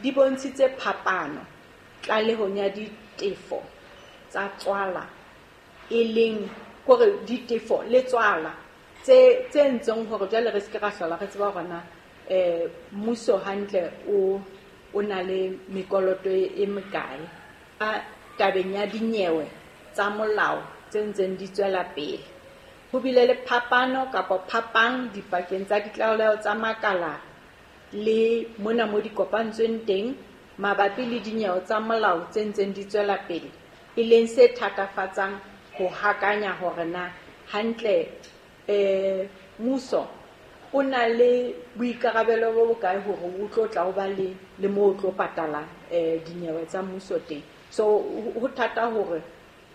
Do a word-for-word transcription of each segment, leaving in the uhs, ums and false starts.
di bontshitse phapano tlalehong ya ditefo tsa tswala, e leng hore ditefo le tswala tse tse entseng hore jwale re se ke ra hlola re tseba hore na eh mmuso hantle o o na le mekoloto e mekae. A tabeng ya dinyewe tsa molao tse ntseng di tswela pele, ho bile le phapano kapa phapang dipakeng tsa ditlaleho tsa makala le mona mo di kopantsweng teng mabapi le dinyewe tsa molao tse ntseng di tswela pele, e leng se thatafatsang ho hakanya hore na hantle eh mmuso o na le boikarabelo bo bokae hore o tlo tla o ba le le moo o tlo patala eh dinyewe tsa mmuso teng. So ho thata hore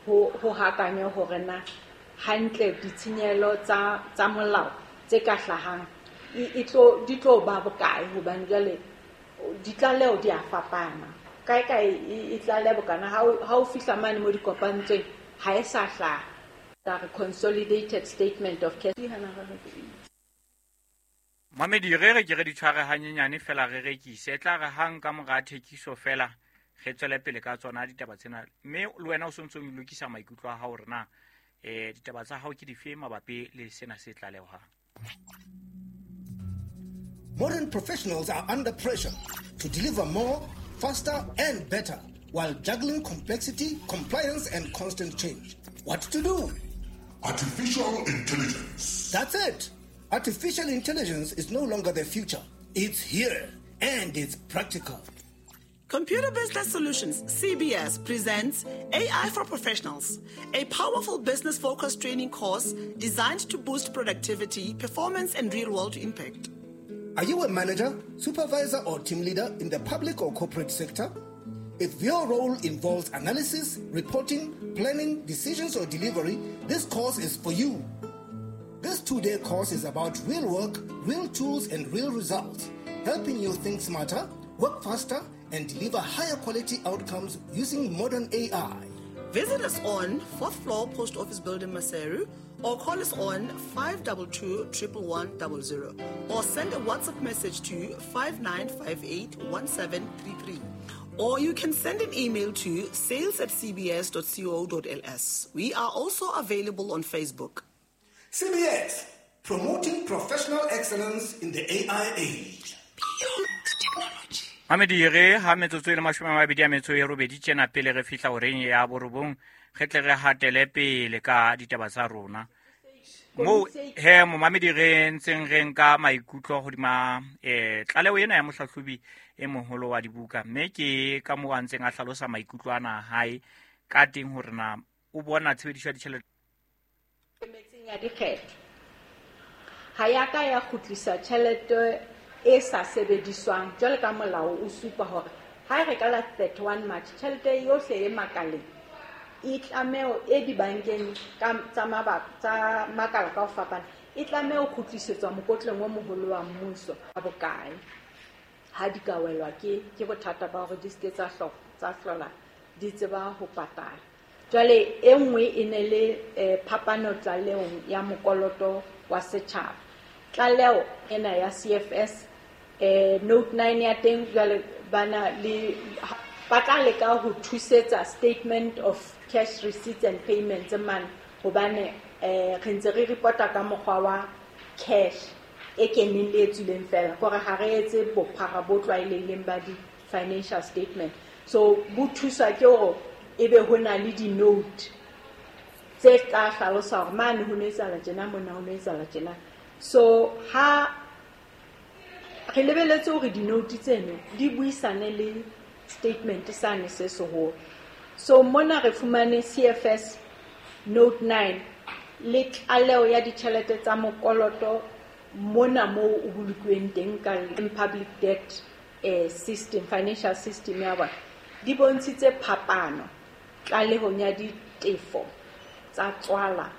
ho ho hakanye hore na hantle ditshenyehelo tsa tsa molao tse ka hlahang e tlo di tlo ba bokae, hobane jwale ditlaleho di a fapana. Kae kae e tlaleha bokana, ha o fihla mane mo di kopantsweng ha e sa hlaha. Ka re consolidated statement of cash. Mamedi, re re ke re di tshware hanyenyane fela re rekise. E tla re hang ka mora thekiso fela re tswele pele ka tsona ditaba tsena. Mme le wena o sontso o lokisa maikutlo a hao hore na eh ditaba tsa hao ke dife mabapi le sena se tlalehwang. Modern professionals are under pressure to deliver more, faster and better while juggling complexity, compliance and constant change. What to do? Artificial intelligence. That's it. Artificial intelligence is no longer the future. It's here and it's practical. Computer Business Solutions, C B S, presents A I for Professionals, a powerful business-focused training course designed to boost productivity, performance, and real-world impact. Are you a manager, supervisor, or team leader in the public or corporate sector? If your role involves analysis, reporting, planning, decisions, or delivery, this course is for you. This two-day course is about real work, real tools, and real results, helping you think smarter, work faster, and deliver higher quality outcomes using modern A I. Visit us on fourth floor Post Office Building, Maseru, or call us on five two two, one one one zero, or send a WhatsApp message to five nine five eight, one seven three three. Or you can send an email to sales at c b s dot co dot l s. We are also available on Facebook. C B S, promoting professional excellence in the A I age. Beyond technology. Mamedi, re ha metsotso e le mashome a mabedi a metso e robedi tjena pele re fihla horeng ya borobong, re tle re hatele pele ka ditaba tsa rona. Mo he momamedi re ntseng re nka maikutlo hodima eh tlaleho ena ya mohlahlobi e moholo wa dibuka, mme ke ka moo a ntseng a hlalosa maikutlo ana hae ka teng hore na o bona tshebediso ya ditjhelete metseng ya dikgetho ha ya ka ya kgutlisa tjhelete e sa sebediswang jwalo ka molao o supa hore ha re ka la thirty-one March tjhelete yohle e makaleng e tlameho e dibankeng ka tsa mabaka tsa makala ka ho fapana e tlameho ho kgutlisetswa mokotleng o moholo wa mmuso ka bokae ha di ka welwa ke ke bothata ba hore di se ke tsa hlo tsa hlola di tseba ho patala. Jwale e nngwe e ne le phapano tlalehong ya mokoloto wa setjhaba. Tlaleho ena ya C F S eh note nine ya teng jwale bana le ba tla leka ho thusetsa statement of cash receipts and payments man hobane eh re ntse re reporta ka mokgwa wa cash e keneng le e tswileng fela kore ha re etse bophara bo tlwaelehileng ba di financial statement. So bo thusa ke hore ebe ho na le di-note tse tla hlalosa hore mane ho no etsahala tjena, mona ho no etsahala tjena. So ha re lebeletse hore di-note tseno di buisane le statement sane se seholo. So mona re fumane C F S note nine le tlaleho ya ditjhelete tsa mokoloto mona moo o bolokuweng teng ka public debt eh, system, financial system ya bona di bontshitse phapano tlalehong ya ditefo tsa tswala,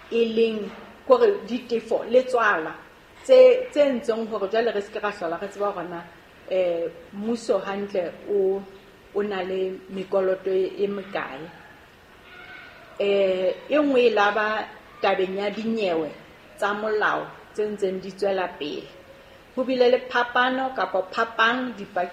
e leng hore ditefo le tswala tse tse entseng hore jwale re se ke ra hlola re tseba hore na eh mmuso hantle o o na le mekoloto e mekae. Eh e nngwe e laba tabeng ya dinyewe tsa molao tse ntseng di tswela pele. Ho bile le phapano kapa phapang dipakeng